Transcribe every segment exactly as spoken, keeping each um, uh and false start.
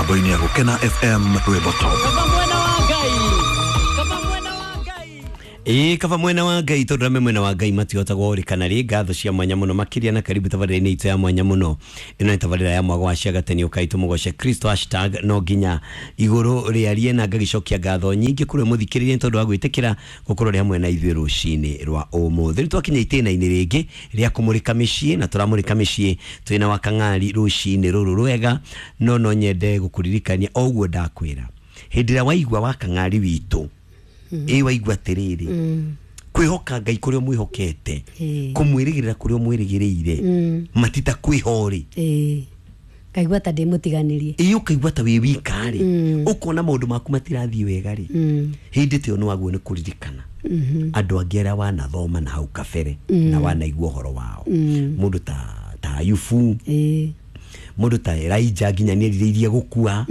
Mĩtambo-inĩ ya Gũkena F M Rwĩmbo Top. Ĩĩ kaba mwena wa Ngai tondũ arĩa me mwena wa Ngai matihotagwo ũrĩkana rĩ ngatho cia mwanya mũno makĩria na karibu tabarĩra-inĩ itũ ya mwanya mũno. Ĩno nĩ tabarĩra ya mwago wa ciagateni ũkai tũmũgoce Kristo hashtag no nginya igũrũ rĩarie na ngagĩcokia ngatho nyingĩ kũrĩ mũthikĩrĩria nĩ tondũ wa gwĩtĩkĩra gũkorwo rĩ hamwe na ithuĩ rũcinĩ rwa ũmũthĩ. Nĩ twakinya itĩna-inĩ rĩngĩ rĩa kũmũrĩka mĩciĩ na tũramũrĩka mĩciĩ twĩna wa Kang'ari rũcinĩ rũrũ rwega, no no nyende gũkũririkania o ũguo ndakwĩra hĩndĩ ĩrĩa waigua wa Kang'ari witũ ĩ waigua atĩrĩrĩ kwĩhoka Ngai kũrĩa ũmwĩhokete kũmwĩrĩgĩrĩra kũrĩa ũmwĩrĩgĩrĩire matita kwĩho rĩ ngaigua ta ndĩmũtiganĩrie ĩ ũkaigua ta wĩ wika rĩ ũkona maũndũ maku matirathiĩ wega rĩ hĩndĩ ta ĩyo nĩwaguo nĩ kũririkana andũ angĩ arĩa wanathoma na hau kabere na wanaigua ũhoro wao mũndũ ta ta Ayubu mũndũ ta Elijah nginya nĩerirĩirie gũkua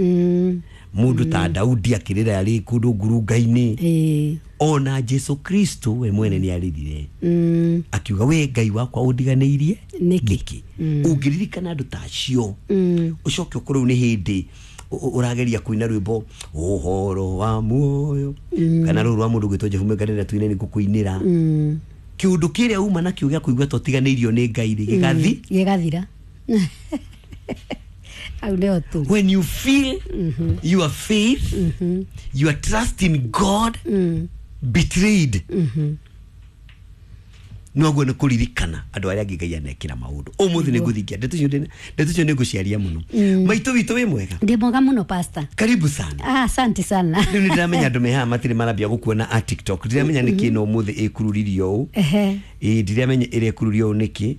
mundu ta Daudi akirira ari kundu ngurunga-inĩ ona Jesu Kristo we mwene nĩ arĩrire akiuga we Ngai wakwa ũndiganĩirie nĩkĩ. Ũngĩririkana andũ ta acio ũcoke ũkorwo nĩ hĩndĩ ũrageria kũina rwĩmbo ũhoro wa muoyo kana rũrũ rwa mũndũ gwĩtwo Jehu Mwenganĩra tuine nĩ ngũkũinĩra kĩũndũ kĩrĩa uma nakĩo gĩa kũigua ta ũtiganĩirio nĩ Ngai rĩ gĩgathi gĩgathira. When you feel mm-hmm. your faith, mm-hmm. your trust in God mm. betrayed, mm-hmm. no go kuririkana andũ arĩa angĩ Ngai anekĩra maũndũ ũmũthĩ nĩ ngũthingia ndeto icio ndeto icio nĩ ngũciaria mũno. Maitũ witũ wĩ mwega? Ndĩ mwega mũno pastor. Karibu sana. Ah, asante sana. Rĩu nĩ ndĩramenya andũ me haha matirĩ marambia gũkuona a TikTok. Ndiramenya nĩkĩ no ũmũthĩ ĩkururirio ũũ. Ehe. Ĩ ndiramenya ĩrĩa ĩkururio ũũ nĩkĩ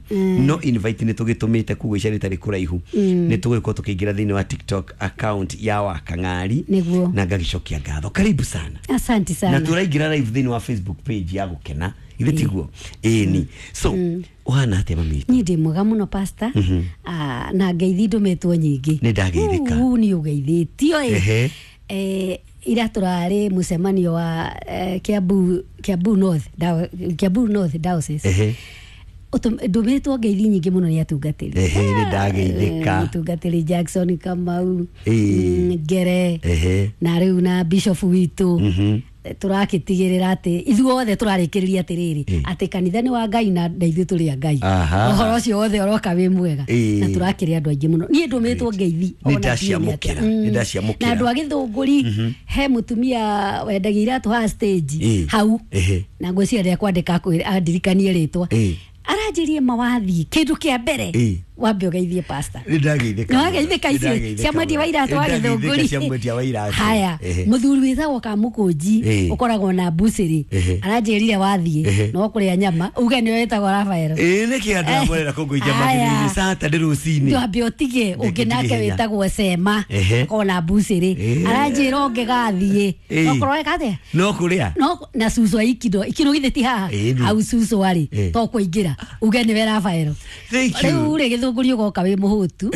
no invite nĩ tũgĩtũmĩte koguo ica rĩtarĩ kũraihu nĩ tũgũgĩkorwo tũkĩingĩra thĩinĩ wa TikTok account ya wa Kang'ari na ngagĩcokia ngatho. Karibu sana. Asante sana. Na tũraingĩra live thĩinĩ wa Facebook page ya Gũkena ithe tiguo ĩni so ũhana atĩa mami? Niĩ ndĩ mwega mũno pastor. Ah, na ngeithi ndũmĩtwo nyingĩ. Nĩ ndageithĩka. Nĩ ũgeithĩtio ĩ. Eh, ira tũrarĩ mũcemanio wa Kiambu Kiambu North Kiambu North Diocese. Ndũmĩtwo ngeithi nyingĩ mũno nĩ atungatĩri. Ehe, nĩ ndageithĩka. Mũtungatĩri Jackson Kamau Ngere na rĩu na Bishop witũ tũrakĩtigĩrĩra atĩ ithuothe tũrarĩkĩrĩria atĩrĩrĩ atĩ kanitha nĩ wa Ngai na ithuĩ tũrĩ a Ngai. Ũhoro ũcio wothe ũroka wĩ mwega na tũrakĩrĩ andũ aingĩ mũno. Niĩ ndũmĩtwo ngeithi nĩ ndaciamũkĩra nĩ ndaciamũkĩra. Na andũ a Gĩthũngũri he mũtumia wendagia iratũ haha stage hau na ngwĩciria kwandĩka andirikanie rĩtwa aranjĩrie mawathi kĩndũ kĩa mbere wambe ũgeithie pastor. Nĩ ndageithĩka. Nĩ wageithĩka icio cia mwendia wa iratũ wa Gĩthũngũri. Cia mwendia wa iratũ. Haya mũthuri wĩtagwo Kamũkũnji ũkoragwo na mbucĩrĩ aranjĩrire wathiĩ no kũrĩa nyama uge nĩwe wĩtagwo Rafael. Ĩ nĩkĩ andũ amorera kũngũikia magĩrĩire Saturday rũcinĩ. Twambe ũtige ũngĩ nake wĩtagwo Sema akoragwo na mbucĩrĩ aranjĩra ũngĩgathiĩ okorwo weka atĩa no kũrĩa no na cucu aikindo ikino githĩ ti haha hau cucu arĩ to kũingĩra uge nĩwe Rafael. Rĩu rĩ Gĩthũngũri ũgoka wĩ mũhũtu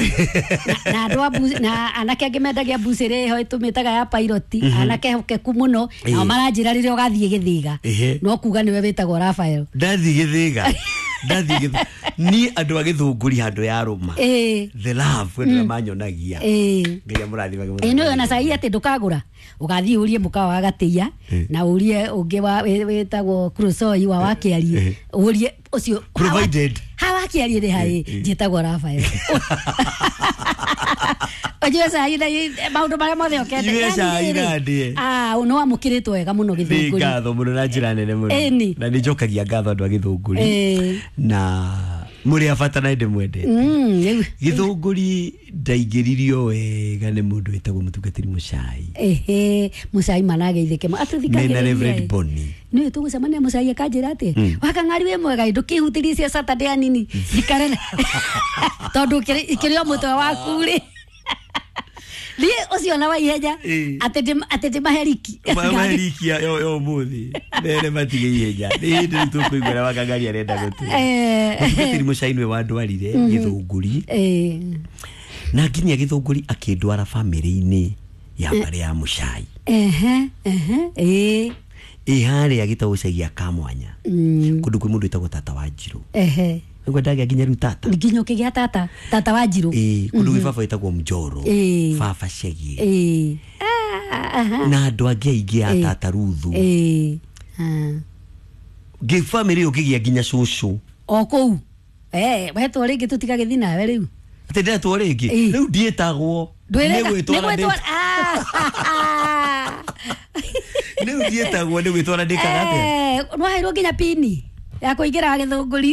na andũ na anake angĩ mendagia mbucĩrĩ ĩho ĩtũmĩtaga ya pilot anake hokeku mũno nao maranjĩra rĩrĩa ũgathiĩ Gĩthĩga no kuga nĩwe wĩtagwo Rafael. Ndathiĩ Gĩthĩga ndathiĩ Gĩthũngũri niĩ andũ a Gĩthũngũri handũ ya rũma the love wendera manyonagia Ngai amũrathimage mũno. Ĩ nĩwe ona cai atĩ ndũkagũra ũgathiĩ ũrie mũkawa wa Gatĩia na ũrie ũngĩ wĩtagwo Krosoi wa Wakĩarie ũrie ũcio provided hawa kĩarie nĩ harĩ njĩtagwo Rafael. Ũnyue cai na maũndũ marĩa mothe ũkende. Nyue cai na ndĩe. Ah, nĩ wamũkĩrĩtwo wega mũno Gĩthũngũri. Nĩ ngatho mũno na njĩra nene mũno. Na nĩ njokagia ngatho andũ a Gĩthũngũri. Na mũrĩ a bata na ndĩmwendete. Gĩthũngũri ndaingĩririo wega nĩ mũndũ wĩtagwo mũtungatĩri Mũcai. Ehe, Mũcai manageithĩke. Atũthikagĩrĩria. Mena Reverend Bonnie. Nĩ tũgũcemania Mũcai akanjĩra atĩ Wakang'ari wĩ mwega ndũkĩhutĩrie cia Saturday anini njikare tondũ ikĩrĩ o mũtwe waku rĩ niĩ ũcio na wa ihenya atĩ atĩ ndĩmaheriki maheriki ya ũmũthĩ mere matige ihenya nĩ hĩndĩ rĩu tũkũigua ũrĩa Wakang'ari arenda gũtwĩra. Mũtungatĩri Mũcai nĩwe wandwarire Gĩthũngũri na nginya Gĩthũngũri akĩndwara bamĩrĩ-inĩ ya mbarĩ ya Mũcai. Ehe, ehe, ĩ ĩ harĩa gĩtagwo gĩcagi gĩa Kamwanya kũndũ kwĩ mũndũ wĩtagwo Tata wa Njirũ. Ehe. Nĩguo ndagĩa nginya rĩu tata. Nginya ũkĩgĩa tata, tata wa Njirũ. Ĩĩ, kũndũ gwĩ baba wĩtagwo Mjoro, Ĩĩ. baba Chege, Ĩĩ. Ah, aha. na andũ angĩ aingĩ a Ĩĩ. tata Ruthu. Ĩĩ. Ah. Ngĩ bamĩrĩ ĩyo ngĩgĩa nginya cũcũ. O kũu. Eh, wetwo rĩngĩ tũtigagĩthiĩ nawe rĩu. Atĩ ndetwo rĩngĩ? Ĩĩ. Rĩu ndiĩtagwo. Ndwĩrega- Nĩ gwĩtwara nĩ gwĩtwara- Ah. Rĩu ndiĩtagwo, nĩ gwĩtwara ndĩkaga atĩa? Eh, nĩwaheirwo nginya pini ya kũingĩra gĩthũngũri.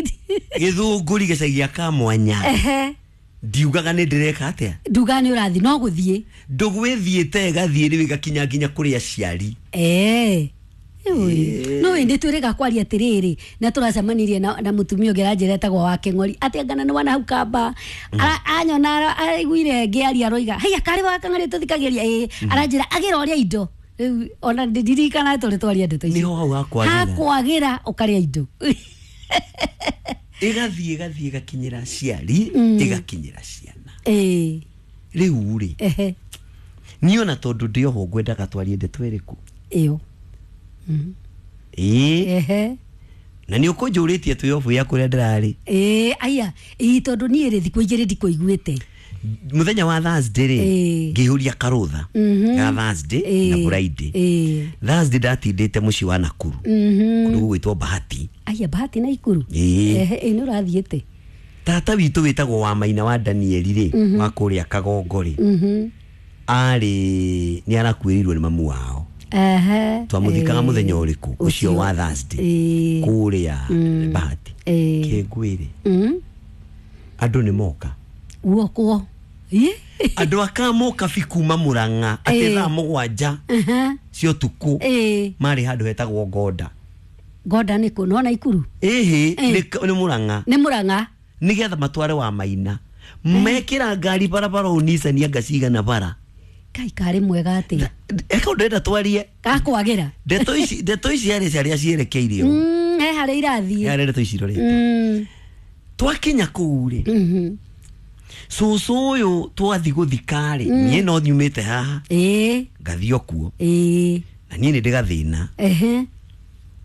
Gĩthũngũri gĩcagi gĩa Kamwanya. Ehe. Ndiugaga nĩ ndĩreka atĩa. Nduga nĩ ũrathiĩ no gũthiĩ. Ndũgũ ĩthiĩte ĩgathiĩ rĩu ĩgakinya nginya kũrĩ aciari. Eh. No ĩndĩ twĩrĩga kwaria atĩrĩrĩ, na tũracemanirie na, na mũtumia ũngĩ aranjĩra etagwo wa Kĩng'ori atĩ angana nĩ wana hau kamba. Ara- anyona ara- araiguire ngĩaria aroiga haiya karĩ wa Kang'ori tũthikagĩria. Ĩĩ, aranjĩra agĩra ũrĩa indo rĩu ona ndirikana tũrĩ twaria ndeto icio. Nĩho hau hakwagĩra. Hakwagĩra ũkarĩa indo. Ĩgathiĩ ĩgathiĩ ĩgakinyĩra aciari, ĩgakinyĩra ciana. Ĩĩ. Rĩu rĩ, Ehe. niĩ ona tondũ ndĩ oho ngwendaga twarie ndeto ĩrĩkũ? Ĩyo. Ĩĩ. Ehe. Na nĩ ũkũnjũrĩtie twĩ obu ya kũrĩa ndĩrarĩ. Ĩĩ, aya, ĩĩ, tondũ niĩ rĩ thikũ igĩrĩ ndikũiguĩte. Mũthenya wa Thursday rĩ, Ĩĩ. ngĩihũria karũtha ga Thursday na Ĩĩ. Friday. Ĩĩ. Thursday ndatindĩte mũciĩ wa Nakuru, kũndũ gũgwĩtwo Bahati. Aya, Bahati na Ikuru. Ĩĩ. Ehe, ĩĩ, nĩ ũrathiĩte. Tata witũ wĩtagwo wa Maina wa Danieli rĩ, wa kũrĩa Kagongo rĩ, arĩ nĩ arakuĩrĩirwo nĩ mamu wao. Ehe. Twamũthikaga Ĩĩ. mũthenya ũrĩkũ? Ũcio wa Thursday Ĩĩ. kũrĩa Bahati. Ĩĩ. Kĩngwĩre, Mm. andũ nĩ moka. Guokwo. Ĩ? Andũ akamoka bi kuma Mũrang'a atĩ Ĩĩ. thaa mũgwanja Aha. cia ũtukũ. Ĩĩ. Marĩ handũ hetagwo Ngonda. Ngonda nĩ kũ? Nona Ikuru? Ĩhĩ. Ĩĩ. nĩ nĩ Mũrang'a. Nĩ Mũrang'a. Nĩgetha matware wa Maina, mekĩra ngari barabara ũũ Nissan anga cigana bara. Kai karĩ mwega atĩa? Eka ndĩrenda twarie. Gakwagĩra. Ndeto ici, ndeto ici harĩ harĩa cierekeire ũũ. Mm, he harĩa irathiĩ. Harĩa ndeto ici irorete. Mm. Twakinya kũu rĩ, Mhm. cũcũ ũyũ twathi gũthika rĩ, niĩ no nyumĩte haha Ĩĩ. ngathiĩ o kuo. Ĩĩ. Na niĩ nĩ ndĩ gathĩna Ehe.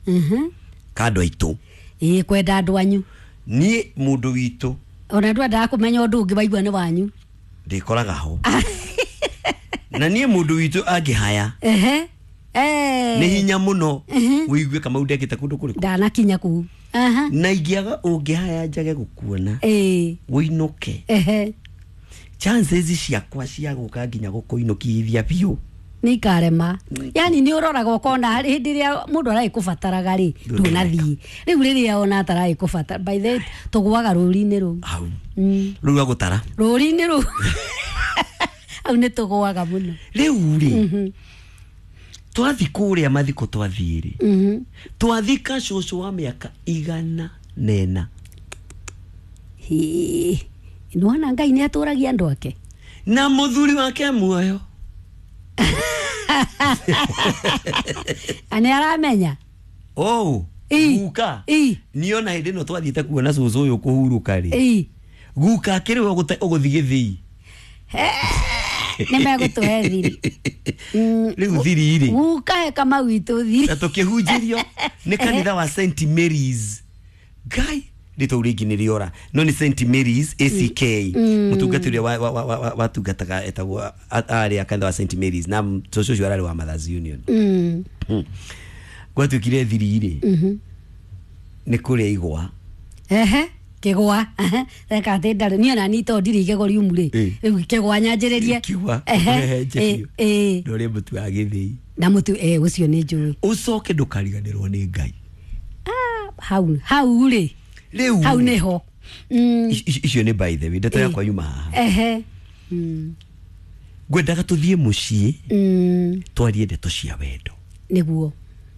Mhm. ka andũ aitũ. Ĩĩ, kwenda andũ anyu. Niĩ mũndũ witũ Ona ndwendaga kũmenya ũndũ ũngĩ waigua nĩ wanyu. ndĩkoraga ho, na niĩ mũndũ witũ angĩhaya, Ehe. Eh. nĩ hinya mũno wĩigue Kamau ndekĩte kũndũ kũrĩkũ. Ndanakinya kũu. Aha. Na ingĩaga ũngĩhaya njage gũkuona, Ĩĩ. wĩinũke, Ehe. chances ciakwa cia gũka nginya gũkũinũkithia biũ Nĩ ikarema. Yani nĩ ũroraga ũkona hĩndĩ ĩrĩa mũndũ aragĩkũbataraga rĩ, ndũnathiĩ. Rĩu rĩrĩa ona ataragĩkũbatara, by the way, tũgũaga rũri-inĩ rũu. Hau. Mm. Rĩu agũtara. Rũri-inĩ rũu. Hau nĩ tũgũaga mũno. Rĩu rĩ, twathi kũrĩa mathiko, twathiĩ rĩ, Mhm. twathika cũcũ wa mĩaka igana nena. Hĩ. Nĩwona Ngai nĩ atũragia andũ ake. Na mũthuri wake muoyo. Na nĩ aramenya. Oh, Ĩ. guka. Ĩ. Niĩ ona hĩndĩ ĩno twathiĩte kuona cũcũ ũyũ kũhurũka rĩ, Ĩ. guka akĩrĩ we ũgũte- ũgũthiĩ gĩthĩi. Nĩ megũtũhe thiri. Mm, Rĩu thiri rĩ, Guka he Kamau witũ thiri. na tũkĩhunjĩrio nĩ kanitha wa Saint Mary's. Ngai, rĩtwa rĩngĩ nĩ rĩora, no nĩ Saint Mary's A C K. Mũtungatĩri ũrĩa wa- wa- wa- wa- watungataga etagwo a- arĩ a kanitha wa Saint Mary's, na cũcũ ũcio ararĩ wa Mothers Union. Mm. Hmm. Gwatuĩkire thiri rĩ nĩ kũrĩa igwa. Ehe. Kĩgwa. Ehe. Reka atĩ ndarĩ niĩ ona niĩ tondũ ndirĩ igego riumu rĩ. Ĩ. Rĩu kĩgwa nyanjĩrĩrie. Kĩgwa. Ehe. Ũrehenje Ĩ, biũ. ĩ. Na ũrĩe mũtu wa gĩthĩi. Na mũtu ĩ ũcio nĩ njũĩ. Ũcoke ndũkariganĩrwo nĩ Ngai. Ah, hau hau rĩ. Rĩu Hau nĩho. Mm. Ici- ici- icio nĩ by the way ndeto Ĩ. yakwa yuma haha. Ehe. Mm. Ngwendaga tũthiĩ mũciĩ, Mm. twarie ndeto cia wendo. Nĩguo.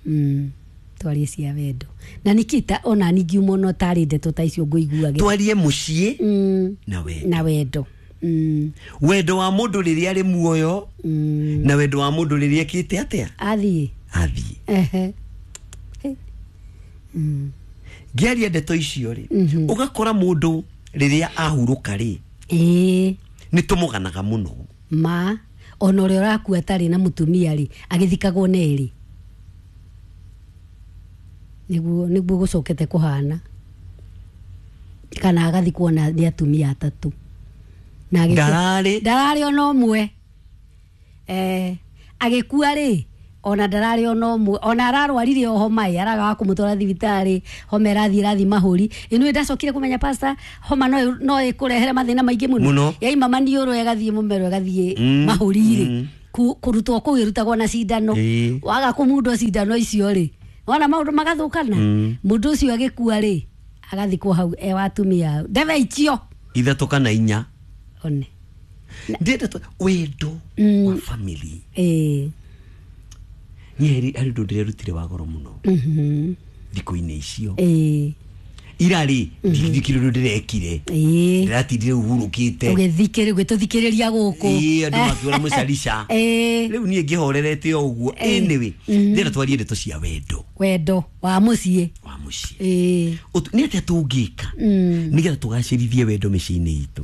Mm. Twarie cia wendo. Na Nikita ona ningiuma ona ũtarĩ ndeto ta icio ngũiguagĩra. Twarie mũciĩ Mm. na wendo. Na wendo. Mm. Wendo wa mũndũ rĩrĩa arĩ muoyo, Mm. na wendo wa mũndũ rĩrĩa ekĩte atĩa? Athiĩ. Athiĩ. Ehe. He. Mm. Ngĩaria ndeto icio rĩ, ũgakora mũndũ rĩrĩa ahurũka rĩ, Ĩĩ. nĩ tũmũganaga mũno. Ma ona ũrĩa ũrakua atarĩ na mũtumia rĩ, agĩthikagwo na erĩ. Nĩguo nĩguo gũcokete kũhana. Kana agathikwo na nĩ atumia atatũ. Na ndararĩ ndararĩ ona ũmwe. Eh, agĩkua rĩ ona ndararĩ ona ũmwe, ona ararwarire o homa ĩ araga wa kũmũtwara thibitarĩ, homa ĩrathiĩ ĩrathiĩ mahũri. Ĩno ndacokire kũmenya pastor, homa no no ĩkũrehere mathĩna maingĩ mũno. Yaima maniũrũ ĩgathiĩ mũmero ĩgathiĩ mm. mahũri rĩ. Mm. Kũrutwo kũu ĩrutagwo na cindano. Waga kũmundwo cindano icio rĩ, wona maũndũ magathũkana. Mũndũ ũcio agĩkua rĩ agathikwo hau e wa atumia ndebe icio ithatũ kana inya. One ndĩrenda wendo wa family. Eh, niĩ harĩ ũndũ ndĩrerutire wa goro mũno thikũ-inĩ icio. Eh, irarĩ ndikire ũndũ ndĩrekire, ndĩratindire ũhurũkĩte ũgĩthikĩrĩria ũgĩtũthikĩrĩria gũkũ. Ĩĩ, andũ makiũra mũcarica. Rĩu niĩ ngĩhorerete o ũguo. Anyway, ndĩrenda twarie ndeto cia wendo, wendo wa mũciĩ, wa mũciĩ. Ĩĩ, nĩ atĩa tũngĩka nĩgetha tũgacĩrithie wendo mĩciĩ-inĩ itũ?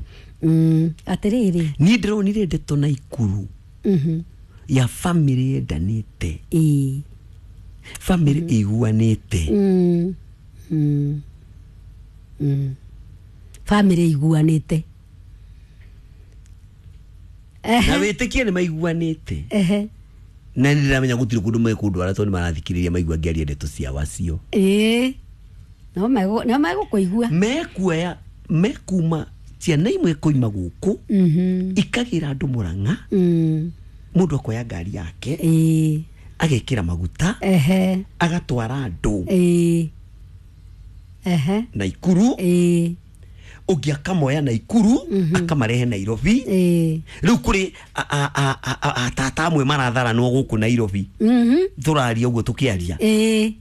Atĩrĩrĩ, niĩ ndĩronire ndeto Naikuru ya family yendanĩte, ĩĩ, family ĩiguanĩte. Mm. Family iguanĩte na wĩtĩkie nĩ maiguanĩte. Ehe, na nĩ ndĩramenya gũtirĩ kũndũ mekũndwara tondũ nĩ marathikĩrĩria maigua ngĩaria ndeto cia wacio. Ĩĩ, no megũ no megũkũigua, mekuoya mekuma ciana imwe koima gũkũ ikagĩra andũ Mũrang'a, mũndũ akoya ngari yake ĩĩ, agekĩra maguta ehe, agatwara andũ ĩĩ, ehe, Naikuru. Ĩĩ, ũngĩ akamoya Naikuru akamarehe Nairobi. Ĩĩ, rĩu kũrĩ atata amwe maratharanwo gũkũ Nairobi, tũraria ũguo tũkĩaria. Ĩĩ,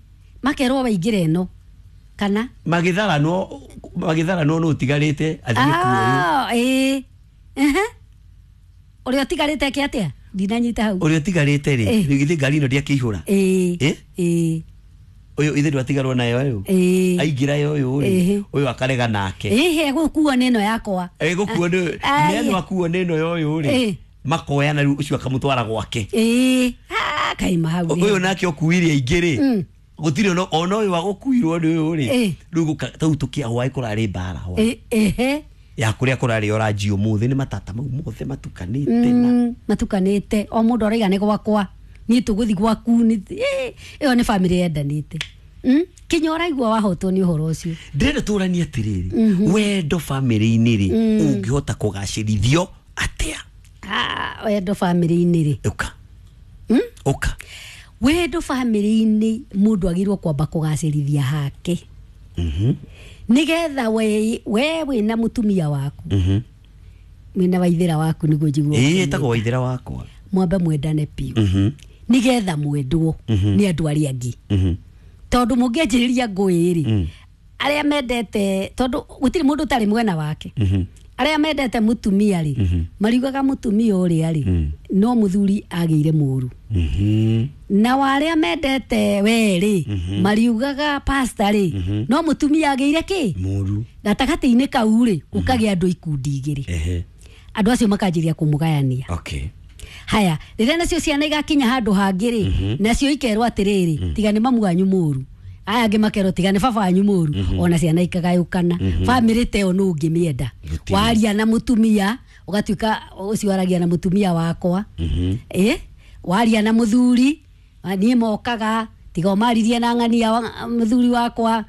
makerwo waingĩra ĩno kana magĩtharanwo magĩtharanwo nũ ũtigarĩte athiĩ kuoywo. Ĩĩ, ehe, ũrĩa ũtigarĩte eke atĩa? Ndinanyita hau. Ũrĩa ũtigarĩte rĩ, githĩ ngari ĩno ndĩakĩihũra? Ĩĩ, ĩĩ, ũyũ ithe ndwatigarwo nayo ũyũ aingĩra yo ũyũ rĩ, ũyũ akarega nake. Ĩhĩ, gũkuo nĩ ĩno yakwa. Ĩ, gũkuo nĩ nĩ akuo nĩ ĩno ya ũyũ rĩ, makoyana rĩu ũcio akamũtwara gwake. Ĩĩ, kaima hau. Ũyũ nake ũkuire aingĩ rĩ, gũtirĩ ona ona ũyũ wagũkuirwo nĩ ũyũ rĩ, rĩu tau tũkĩa hwaĩ kũrarĩ mbara hwaĩ. Ehe, ya kũrĩa kũrarĩ oranji ũmũthĩ nĩ matata mau mothe matukanĩte na matukanĩte, o mũndũ araiga nĩ gwakwa, niĩ tũgũthiĩ gwaku, ĩyo nĩ family yendanĩte. Kinya ũraigua wahotwo nĩ ũhoro ũcio. Ndĩrenda tũranie atĩrĩrĩ, wendo family-inĩ rĩ ũngĩhota kũgacĩrithio atĩa? Ah, wendo family-inĩ rĩ, ũka ũka wendo family-inĩ mũndũ agĩrĩirwo kwamba kũgacĩrithia hake, nĩgetha we we wĩna mũtumia waku, wĩna waithĩra waku nĩguo njiguo. Ĩĩ, ĩtagwo waithĩra wakwa. Mwambe mwendane biũ nĩgetha mwendwo nĩ andũ arĩa angĩ, tondũ mũngĩanjĩrĩria ngũĩ rĩ, arĩa mendete, tondũ gũtirĩ mũndũ ũtarĩ mwena wake, arĩa mendete mũtumia rĩ mariugaga mũtumia ũrĩa rĩ no mũthuri agĩire mũru, na arĩa mendete we rĩ mariugaga pastor rĩ no mũtumia agĩire kĩ mũru. Gatagatĩ-inĩ kau rĩ gũkagĩa andũ ikundi igĩrĩ, andũ acio makanjĩrĩria kũmũgayania. Okay. Haya, rĩrĩa nacio ciana igakinya handũ hangĩ rĩ, nacio ikerwo atĩrĩrĩ, tiga nĩ mamu wanyu mũru, aya angĩ makerwo tiga nĩ baba wanyu mũru, ona ciana ikagayũkana. Family ta ĩyo nũ ũngĩmĩenda? Waria na mũtumia ũgatuĩka ũcio aragia na mũtumia wakwa, ĩ waria na mũthuri niĩ mokaga, tiga ũmaririe na ng'ania mũthuri wakwa,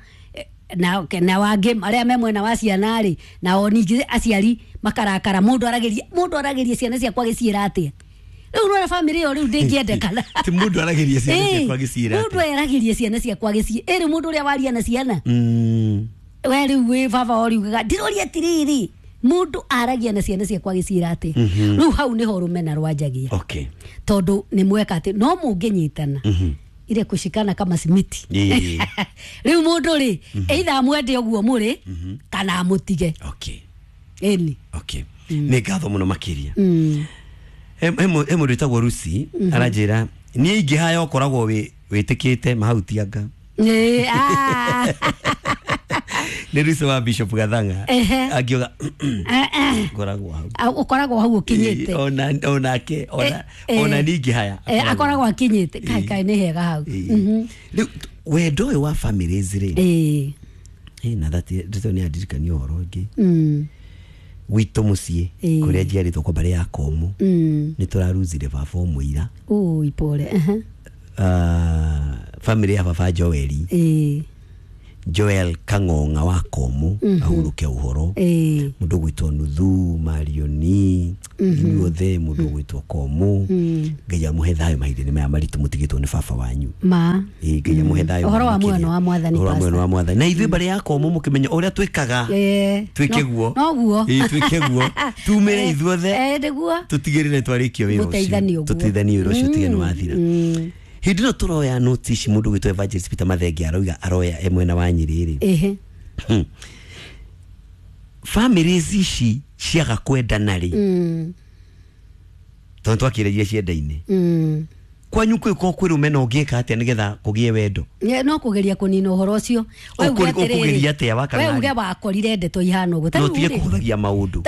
na na wangĩ arĩa me mwena wa ciana rĩ, nao ningĩ aciari makarakara, mũndũ aragĩria mũndũ aragĩria ciana ciakwa gĩciĩra atĩa? Rĩu nĩwona family ĩyo rĩu ndĩngĩendekana. Ti mũndũ aragĩria ciana ciakwa gĩciĩra atĩa? Mũndũ aragĩria ciana ciakwa gĩciĩ ĩrĩ mũndũ ũrĩa waria na ciana we rĩu wĩ baba ũriugaga ndĩroria atĩrĩrĩ, mũndũ aragia na ciana ciakwa gĩciĩra atĩa? Rĩu hau nĩho rũmena rwanjagia. Okay. Tondũ nĩ mweka atĩ no mũngĩnyitana ile kushikana kama simiti. Rĩu mũndũ rĩ either amwende ũguo mũrĩ kana amũtige. Okay. Ĩni. Okay. Nĩ ngatho mũno makĩria. He mũndũ wĩtagwo Rusi aranjĩra niĩ ingĩhaya ũkoragwo wĩtĩkĩte mahautianga. Ĩĩ, ah. Nĩ Rusi wa Bishop Gathanga angiuga ngoragwo hau. Ũkoragwo hau ũkinyĩte. Ona onake ona ona niĩ ingĩhaya akoragwo akinyĩte. Kai kai nĩ hega hau. Rĩu wendo ũyũ wa families rĩ, Ĩĩ, Eh, na that ndeto nĩ andirikania ũhoro ũngĩ Mm. gwitũ mũciĩ Ĩĩ. kũrĩa njiarĩtwo kwa mbarĩ ya Komũ Mm. nĩ tũraruzire baba ũmwe ira. Ui, pole. Aha. Ah, family ya baba Joeli Ĩĩ. Joel Kang'ong'a wa Komũ ahurũke ũhoro. Ĩĩ. Mũndũ ũgwĩtwo Nuthu Marioni inyuothe mũndũ ũgwĩtwo Komũ, Ngai amũhe thayũ mahinda-inĩ maya maritũ mũtigĩtwo nĩ baba wanyu. Ma. Ĩĩ, Ngai amũhe thayũ Ũhoro wa makĩria. muoyo wa Mwathani, Ũhoro wa muoyo Pastor. wa Mwathani. Na ithuĩ mbarĩ ya Komũ mũkĩmenya ũrĩa twĩkaga Ĩĩ. twĩke No- guo. Noguo. Ĩĩ, twĩke guo tumĩre ithuothe Eh, nĩguo. tũtigĩrĩre twarĩkia wĩra ũcio. Gũteithania ũguo. Tũteithanie wĩra ũcio tige nĩ wathira. Mm. Hĩndĩ ĩno tũroya notice ici mũndũ ũgwĩtwo Evangelist Peter Mathenge arauga aroya e mwena wa Nyĩrĩ rĩ, Ĩhĩ. families ici ciaga kwendana rĩ, Mm. tondũ twakĩrĩria cienda-inĩ Mm. kwanyu kwĩ ko kwĩ rũmena ũngĩka atĩa nĩgetha kũgĩe wendo? Nye- no kũgeria kũnina ũhoro ũcio. We uge Ũkũ- atĩrĩrĩ, ũkũgeria atĩa wa we uge Kang'ari? wakorire ndeto ihana ũguo. Ta No rĩu tige rĩ, kũhũthagia maũndũ.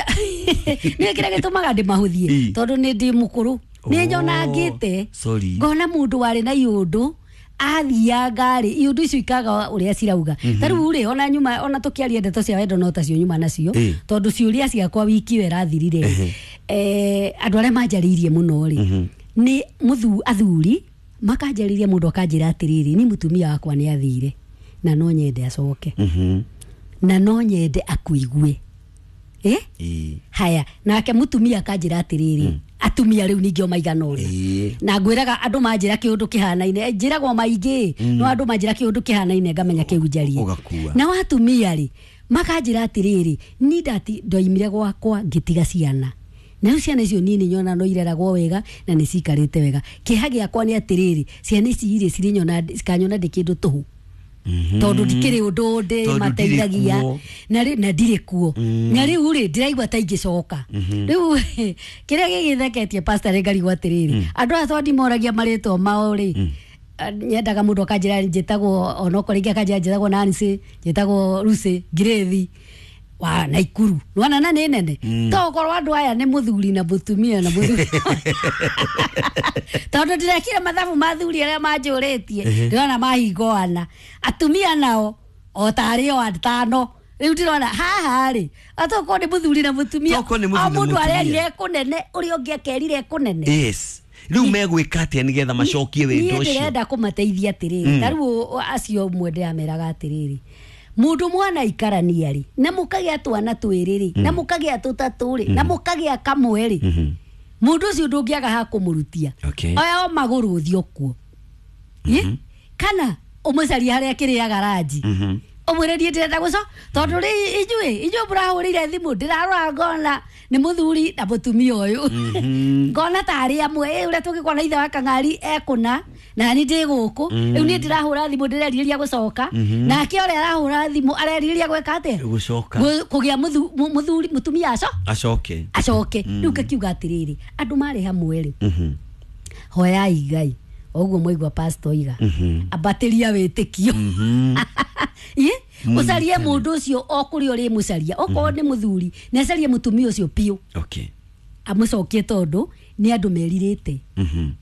nĩ kĩrĩa gĩtũmaga ndĩmahũthie Ĩ. tondũ nĩ ndĩ mũkũrũ, nĩ Oh, nyonangĩte sorry. ngona mũndũ warĩ na iũndũ athianga rĩ, iũndũ icio ikaga ũrĩa cirauga. Ta rĩu rĩ, ona nyuma ona tũkĩaria ndeto cia wendo no tacio nyuma nacio, Ĩ. tondũ ciũria ciakwa wiki ĩyo ĩrathirire rĩ, eh, andũ arĩa manjarĩirie mũno rĩ nĩ mũthu athuri makanjarĩria, mũndũ akanjĩra atĩrĩrĩ, ni mũtumia wakwa nĩ athire na no nyende acoke Mhm. na no nyende akuigue. Eh? Ĩĩ. Haya, nake mutumia akanjĩra atĩrĩrĩ, atumia rĩu ningĩ o maigana ũna Ĩĩ. na ngwĩraga andũ manjĩra kĩũndũ kĩhanaine, eh, njĩragwo maingĩ, no andũ manjĩra kĩũndũ kĩhanaine ngamenya kĩu njarie. Ũgakua. Na watumia rĩ makanjĩra atĩrĩrĩ, ni ndati ndoimire gwakwa ngĩtiga ciana, na rĩu ciana icio niĩ nĩ nyona no ireragwo wega na nĩ cikarĩte wega. Kĩeha gĩakwa nĩ atĩrĩrĩ, ciana ici irĩ cirĩnyona cikanyona ndĩ kĩndũ tũhũ tondũ ndikĩrĩ ũndũ ndĩ Tondũ ndirĩ mateithagia kuo. na rĩ- na ndirĩ kuo, na rĩu rĩ ndĩraigua ta ingĩcoka. Rĩu kĩrĩa gĩgĩtheketie pastor rĩ ngarigwo atĩrĩrĩ, andũ aya tondũ ndimoragia marĩtwa mao rĩ, ah, nyendaga mũndũ akanjĩra njĩtagwo onokorwo rĩngĩ akanjĩra njĩtagwo Nancy, njĩtagwo Lucy Ngirĩthi wa Naikuru, nĩwona na nĩ nene to okorwo andũ aya nĩ mũthuri na mũtumia na mũthuri, tondũ ndĩrekire mathabu ma athuri arĩa manjũrĩtie, ndĩrona mahingoana atumia nao o tarĩ o atano. Rĩu ndĩrona haha rĩ atokorwo nĩ mũthuri na mũtumia, Tokorwo nĩ mũthuri o na mũndũ mũtumia. arerire kũnene ũrĩa ũngĩ akerire kũnene. Yes, rĩu megwĩka atĩa nĩgetha macokie wendo Niĩ ũcio? ndĩrenda kũmateithia atĩrĩrĩ, ta rĩu acio ũmwe ndĩrameraga atĩrĩrĩ, mũndũ mwana ikarania rĩ na mũkagĩa twana twĩrĩ rĩ na mũkagĩa tũtatũ rĩ na mũkagĩa kamwe rĩ, mũndũ ũcio ndũngĩaga ha kũmũrutia. Okay. Oya o magũrũ ũthiĩ kuo. Ĩ? Kana ũmũcarie harĩa akĩrĩaga ranji, ũmwĩre niĩ ndĩrenda gũco tondũ rĩ inyuĩ inyuĩ mũrahũrĩire thimũ ndĩrarora ngona nĩ mũthuri na mũtumia ũyũ, ngona tarĩ amwe. Ĩ, ũrĩa tũngĩkona ithe wa Kang'ari ekũna na ni ndĩ gũkũ rĩu niĩ ndĩrahũra thimũ ndĩrerirĩria gũcoka, nake ũrĩa arahũra thimũ arerirĩria gwĩka atĩa? Gũcoka. Gũ- kũgĩa mũthu- mũ- mũthuri mũtumia aco acoke. Acoke. Rĩu ngakiuga atĩrĩrĩ, andũ marĩ hamwe rĩ, hoyai Ngai oguo mwaigua pastor iga ambatĩria wĩtĩkio. Ĩ, ũcarie mũndũ ũcio o kũrĩa ũrĩmũcaria, okorwo nĩ mũthuri nĩ acarie mũtumia ũcio biũ, Okay. amũcokie tondũ nĩ andũ merirĩte.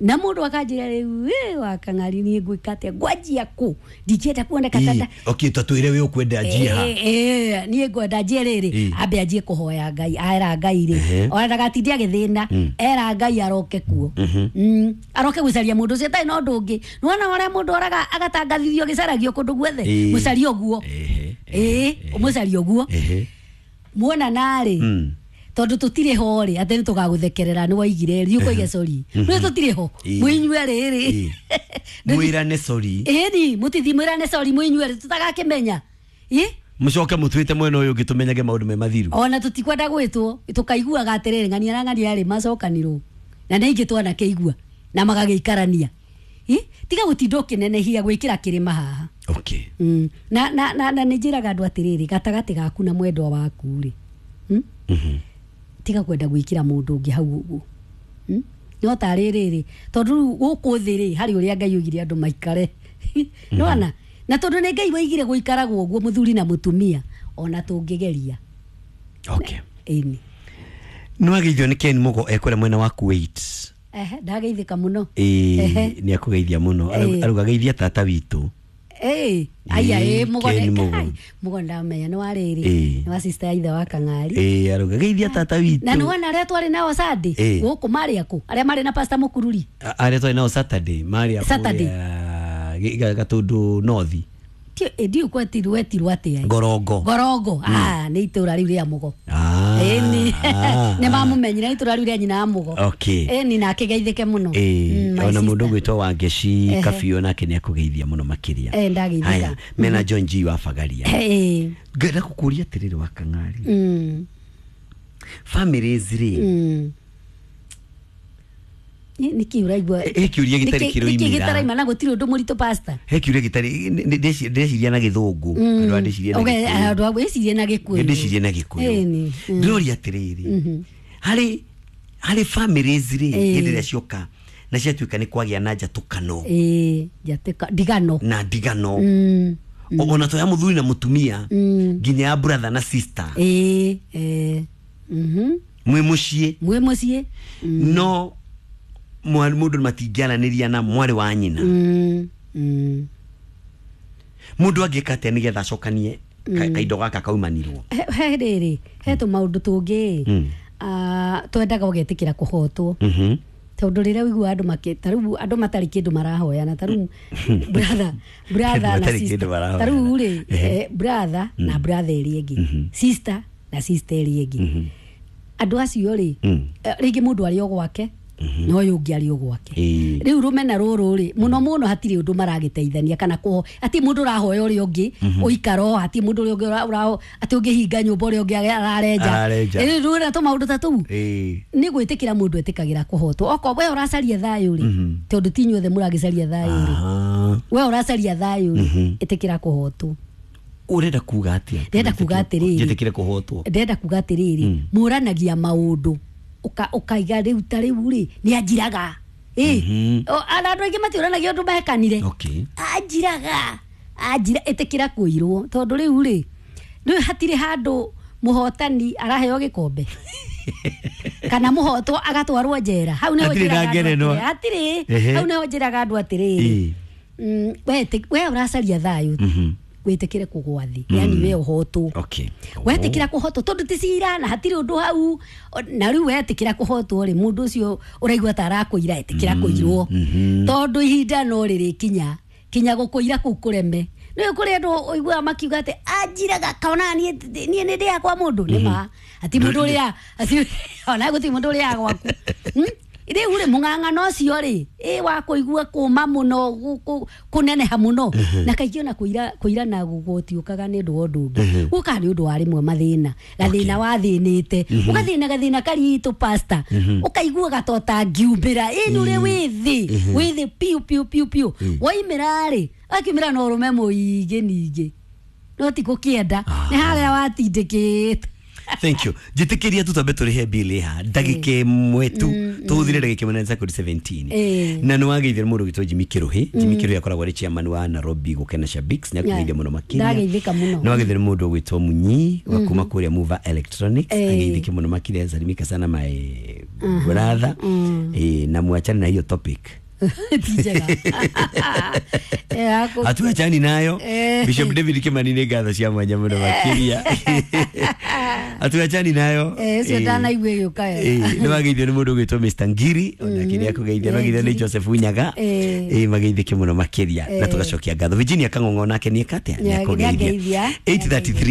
Na mũndũ akanjĩra rĩu, "Ĩ, wa Kang'ari niĩ ngwĩka atĩa, ngwanjia kũ, ndingĩenda kuoneka Ĩ, tata." Okay, tatwĩre wĩ ũkwenda anjie ha. Eh, eh, niĩ ngwenda anjie rĩrĩ, Ĩ. ambe anjie kũhoya Ngai, aera Ngai rĩ, Ehe. ona ndagatinde agĩthĩna, era Ngai aroke kuo. Mm, aroke gũcaria mũndũ ũcio atarĩ na ũndũ ũngĩ. Nĩwona ũrĩa mũndũ oraga agatangathithio gĩcaragio kũndũ guothe, Ĩ. mũcarie ũguo. Ehe, Ĩ, ũmũcarie ũguo Ehe. muona narĩ, Mm. tondũ tũtirĩ ho rĩ atĩ nĩ tũgagũthekerera nĩ waigire rĩ ũkoiga sorry nĩ tũtirĩ ho, Ĩ. mwĩnyue rĩrĩ. Ĩ. Mwĩrane sorry. Ĩni mũtithi mwĩrane sorry mwĩnyue rĩ tũtagakĩmenya. Ĩ. Mũcoke mũtwĩte mwena ũyũ ũngĩ tũmenyage maũndũ me mathiru. Ona tũtikwenda gwĩtwo tũkaiguaga atĩrĩrĩ, ng'ania na ng'ania rĩ macokanirwo na nĩ ingĩ twanakĩigua na magagĩikarania. Ĩ, tiga gũtinda ũkĩnenehia gwĩkĩra kĩrĩma haha. Okay. Mm. na na na, na nĩ njĩraga andũ atĩrĩrĩ, gatagatĩ gaku na mwendwa waku rĩ, mm? Tiga kwenda gwĩkĩra mũndũ ũngĩ hau ũguo. Mm? No tarĩ rĩrĩ tondũ rĩu gũkũ thĩ rĩ harĩ ũrĩa Ngai oigire andũ maikare, nĩwona, na tondũ nĩ Ngai waigire gũikaragwo ũguo mũthuri na mũtumia, ona tũngĩgeria. Okay. Ĩni. Nĩ wageithio nĩ Ken Mugo ekũrĩa mwena wa Kuwait. Ehe, ndageithĩka mũno. Ĩ, Ehe. nĩ akũgeithia mũno. Ĩ. Aruga geithia tata witũ. Eh, aya Ĩĩ, ĩ Mũgo Ken nĩ- Mũgo. kai, Mũgo ndamenya nĩ wa rĩrĩ Ĩĩ. nĩ wa sister ya ithe wa Kang'ari. Ĩĩ, arauga geithia tata witũ. Na nĩ wona arĩa twarĩ nao Sunday Ĩĩ. gũkũ marĩ akũ arĩa marĩ na Pastor Mũkururi? A- arĩa twarĩ nao Saturday marĩ a Saturday. kũrĩa Gĩ- Ga- Gatũndũ North. Ndiũ kwetirwo etirwo atĩa? Ngorongo. Ngorongo, ah, nĩ itũra rĩu rĩa Mũgo. Ah, Ĩni. ah, Nĩ mamumenyire nĩ itũra rĩu rĩa nyina wa Mũgo. Okay. Ĩni, na akĩgeithĩke mũno. Ĩĩ, Mm, my ona sister. mũndũ ũgwĩtwo Wangeci Ehe. Kabiũ nake nĩ akũgeithia mũno makĩria. Eh, ndageithĩka. Haya, mena John G wa Bagaria. Ĩĩ. Ngenda gũkũria atĩrĩrĩ wa Kang'ari, Mm, families rĩ, mm. Nĩ- nĩkĩ ũraigua? He kĩũria gĩtarĩ Nĩkĩ- nĩkĩ kĩroimĩra. gĩtaraima na gũtirĩ ũndũ mũritũ, pastor? He kĩũria gĩtarĩ nĩ- nĩ- ndĩreci- ndĩreciria na gĩthũngũ, andũ a ndĩciria na Okay, Gĩkũyũ. andũ a wĩcirie na Gĩkũyũ. Ndĩcirie na Gĩkũyũ. Ĩni, mm. Ndĩroria atĩrĩrĩ, harĩ harĩ families rĩ, Ĩĩ. hĩndĩ ĩrĩa cioka na ciatuĩka nĩ kwagĩa na njatũkano Ĩĩ, njatĩka ndigano. na ndigano, Mm, O- ona to ya mũthuri na mũtumia, Mm. nginya ya brother na sister, ĩĩ, ĩĩ. Mhm. mwĩ mũciĩ, Mwĩ mũciĩ. no mwa- mũndũ matingĩaranĩria na mwarĩ wa nyina. Mm, mm. Mũndũ angĩka atĩa nĩgetha acokanie ka- kaindo gaka kaumanirwo? He he rĩrĩ, he tũmaũndũ tũngĩ Mm. ah, twendaga ũgetĩkĩra kũhotwo, Mhm. tondũ rĩrĩa ũiguaga andũ makĩ ta rĩu andũ matarĩ kĩndũ marahoyana, ta rĩu brother brother Andũ na matarĩ sister, kĩndũ marahoyana. ta rĩu rĩ, Ehe. eh, brother na brother ĩrĩa ĩngĩ, sister na sister ĩrĩa ĩngĩ, andũ acio rĩ, Mm. eh, rĩngĩ mũndũ arĩ o gwake na ũyũ ũngĩ arĩ o gwake. Ĩĩ. Rĩu rũmena rũrũ rĩ, mũno mũno hatirĩ ũndũ maragĩteithania kana kũho hatirĩ mũndũ ũrahoya ũrĩa ũngĩ ũikaro, hatirĩ mũndũ ũrĩa ũngĩ ũra- ũra- atĩ ũngĩhinga nyũmba ũrĩa ũngĩ ararenja. Ararenja. Rĩu rĩu tũmaũndũ ta tũu Ĩĩ. nĩ gwĩtĩkĩra mũndũ etĩkagĩra kũhotwo. Okorwo we ũracaria thayũ rĩ, tondũ ti inyuothe mũragĩcaria thayũ rĩ, Aha. we ũracaria thayũ rĩ, ĩtĩkĩra kũhotwo. Ũrenda kuga atĩa? Ndĩrenda kuga atĩrĩrĩ. Njĩtĩkĩre kũhotwo. Ndĩrenda kuga atĩrĩrĩ, mũranagia maũndũ ũka- ũkaiga rĩu ta rĩu rĩ, nĩ anjiraga. Ĩ, O, ana andũ aingĩ matiũranagia ũndũ mekanire. Okay. Anjiraga, anjira, ĩtĩkĩra kũirwo, tondũ rĩu rĩ, rĩu hatirĩ handũ mũhotani araheo gĩkombe kana mũhotwo agatwarwo njera. Hau nĩho Hatirĩ na njĩraga andũ ngerenwa. atĩrĩ- hatirĩ. Ehe. Hau nĩho njĩraga andũ atĩrĩrĩ, Ĩĩ. mm, we ĩtĩ- we ũracaria thayũ, wĩtĩkĩre kũgwa thĩ, yani we ũhotwo. Okay. Wetĩkĩra kũhotwo, tondũ ti cira na hatirĩ ũndũ hau. O- na rĩu wetĩkĩra kũhotwo rĩ, mũndũ ũcio ũraigua ta arakũira, ĩtĩkĩra kũirwo, tondũ ihinda no rĩrĩkinya kinya gũkũira kũu kũreme. Nĩ kũrĩ andũ ũiguaga makiuga atĩ anjiraga kaona niĩ niĩ nĩ ndĩaga kwa mũndũ. Nĩ ma ati mũndũ ũrĩa ati ona gũtirĩ mũndũ ũrĩaga gwaku. Hmm? Rĩu rĩ, mũng'ang'ano ũcio rĩ, ĩ wa kũigua kũma mũno, gũ- kũ- kũneneha mũno, na kaingĩ ona kũira kũira na gũtiũkaga nĩ ũndũ wa ũndũ ũngĩ, gũkaga nĩ ũndũ wa rĩmwe mathĩna, gathĩna wathĩnĩte, ũgathĩna gathĩna karitũ, pastor, ũkaigua ta ũtangiumbĩra. Ĩ nĩ ũrĩ wĩ thĩ, wĩ thĩ piũ piũ piũ piũ, waimĩra rĩ, akiumĩra na ũrũme mũingĩ ningĩ no ti gũkĩenda, nĩ harĩa watindĩkĩte. Thank you. Njĩtĩkĩria tu twambe tũrĩhe bill ha ndagĩka ĩmwe tu, tũhũthĩre ndagĩka ĩmwe na sekondi seventeen. Ĩĩ. Na nĩ wageithia mũndũ ũgwĩtwo Jimmy Kĩrũhĩ. Jimmy Kĩrũhĩ akoragwo arĩ chairman wa Nairobi Gũkena Shabix, nĩ akũgeithia mũno makĩria. Ndageithĩka mũno. Nĩ wageithia nĩ mũndũ ũgwĩtwo Munyi wa kuma kũrĩa Mover Electronics. Ĩĩ. Ageithĩke mũno makĩria, salimika sana my brother. Ĩĩ, na mwachane na hiyo topic. Ti njega. Eh, aku- Hatuachani nayo. Eh. Bishop David Kimani, nĩ ngatho cia mwanya mũno makĩria. Hatuachani nayo. Eh, ũcio Eh. ndanaigua ĩgĩũka wega. Eh, nĩ wageithio nĩ mũndũ ũgwĩtwo Mister Ngiri, onake nĩ akũgeithia. Nĩ wageithio nĩ Ngiri. Joseph Unyaga. Eh. Eh, mageithĩke mũno makĩria na Eh. tũgacokia ngatho. Virginia Kang'ong'o nake nĩ eka atĩa? Nĩ Nĩ akũgeithia. ageithia. eight thirty-three.